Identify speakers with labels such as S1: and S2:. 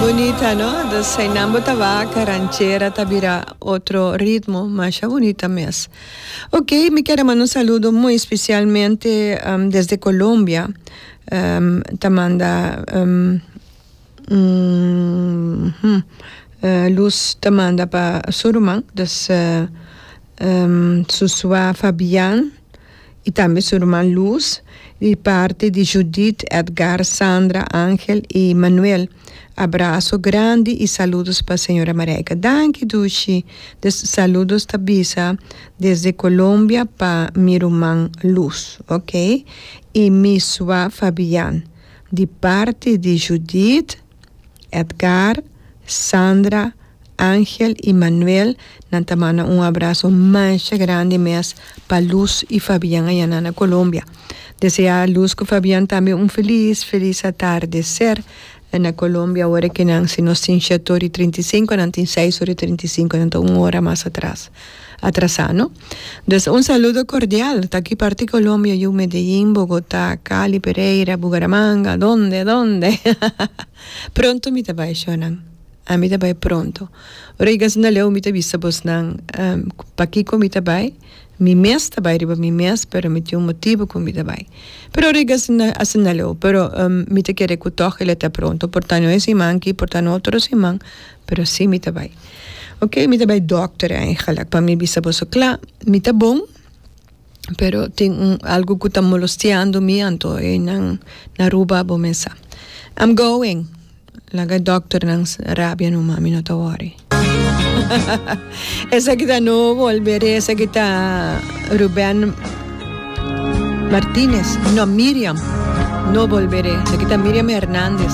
S1: Bunita no? Dus einan bo ta wak, ranchera ta bira otro ritmo, masha bunita mes. Ok, mi kier a manda un saludo muy especialmente desde Colombia, ta manda Luz ta manda pa su ruman, dus su sua Fabian. Y tambe su ruman Luz, di parti di Judith, Edgar, Sandra, Angel y Manuel. Abrazo grandi y saludos pa señora Marijke. Danki Dushi. Des saludos ta bisa desde Colombia pa mi ruman Luz, ok. Y mi sua Fabian, di parti di Judith, Edgar, Sandra, Angel y Manuel, nan ta manda un abrazo masha grandi mes pa Luz y Fabian aya nan na Colombia. Desea Luz cu Fabian tambe un feliz, feliz atardecer na Colombia ora que nan, si nos tin shete ora y trinta y cinco, nan tin seis ora y trinta y cinco, nan ta un ora mas atras, atrasa no. Dus un saludo cordial, ta ki parti Colombia yu, Medellin, Bogota, Cali, Pereira, Bucaramanga, donde, donde? Pronto mi ta bay shonan. Ami ta bai pronto. Ora yega asina leu mi ta bisa bosnan pakiko mi ta bai. Mi mes ta bai riba mi mes pero mi tin un motibu ku mi ta bai. Pero ora yega asina asina leu pero mi ta kere ku tòg el a ta pronto. Por ta no e siman aki por ta no otro siman pero si mi ta bai. Oke mi ta bai dòkter eigenlik pa mi bisa boso kla mi ta bon. Pero tin un algo cu ta molosteando mi anto eynan na Aruba bo mes sa. I'm going. Laga e dokternan rabia numa, mi no ta worry. Esaki ta No Volveré, esaki ta Ruben Martinez, no Miriam, No Volveré, esaki ta Miriam Hernandez.